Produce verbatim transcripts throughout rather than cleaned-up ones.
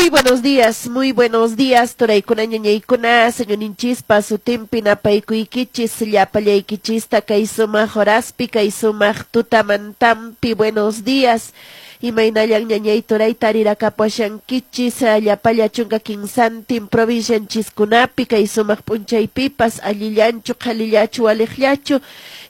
Muy buenos días, muy buenos días, turaykuna, ñañaykuna, Señorninchispa sutinpi napaykuykichis, llapallaykichista kay sumaq horaspi, kay sumaq tutamantampi, buenos días. Imaynallan, ñañay, turay, tarirakapuashankichis llapalla chunka kinsantin provincianchiskunapi kay sumaq p'unchaypipas? Allillanchu, qhalillachu, waliqllachu?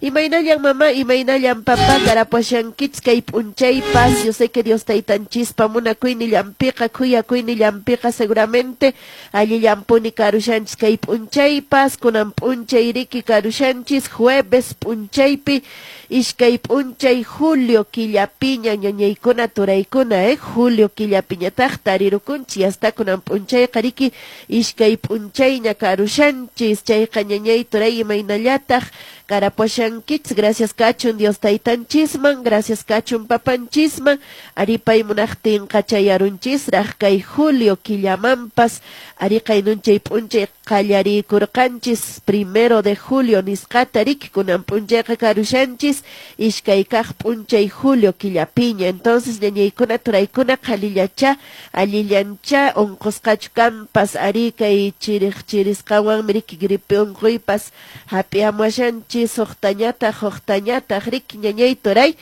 Imaynallan, mamá, imaynallan, papá, karapuashankichis kay p'unchaypas? Yo sé que Dios taytanchispa munakuynillanpiqa, khuyakuynillanpiqa seguramente allillanpuni karushanchis kay p'unchaypas. Kunan p'unchay riki karushanchis jueves p'unchaypi, iskay p'unchay julio killapiña, ñañaykuna, turaykuna, eh julio killapiñataq tarirukunchis. Hasta kunan p'unchayqa riki iskay p'unchayña karushanchis. Chayqa, ñañay, turay, imaynallataq karapuashankichis? Gracias kachun Dios taytanchisman, gracias kachun papanchisman, ari pay munaqtinqa chayarunchisraq kay julio killamanpas. Ari qaynunchay p'unchay qallariykurqanchis primero de julio nisqata riki, kunan p'unchayqa karushanchis iskay kaq p'unchay julio killapiña. Entonces, ñañaykuna, turaykuna, qhalillacha, allillancha, unqusqachu kanpas? Ari kay chiriq chirisqanwanmi riki gripe unquypas hap'iamuashanchis suqtañataq, huqtañataq riki, ñañay, turay.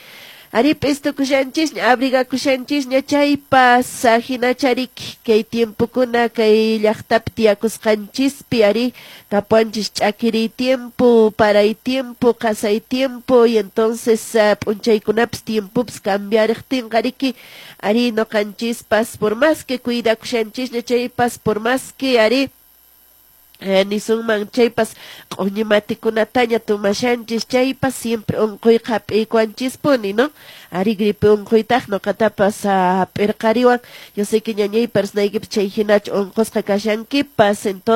Ari p'istukushanchisña, abrigakushanchisña chaypas hinacha riki kay tiempokuna kay llaqtapi tiyakusqanchispi. Ari kapuanchis ch'akiriy tiempo, paray tiempo, qasay tiempo, y entonces uh, p'unchaykunapis tiempopis cambiariqtinqa riki, ari noqanchispas por más que cuidakushanchisña chaypas, por más que ari eh, nisunman chaypas q'uñi matikunataña tomashanchis chaypas, siempre unquyqa hap'iykuwanchispuni, ¿no? Ari gripe unquytaq noqatapas hap'irqariwan. Yo sé que, ñañay, personaykipas chay hinachu unqusqa kashankipas. Entonces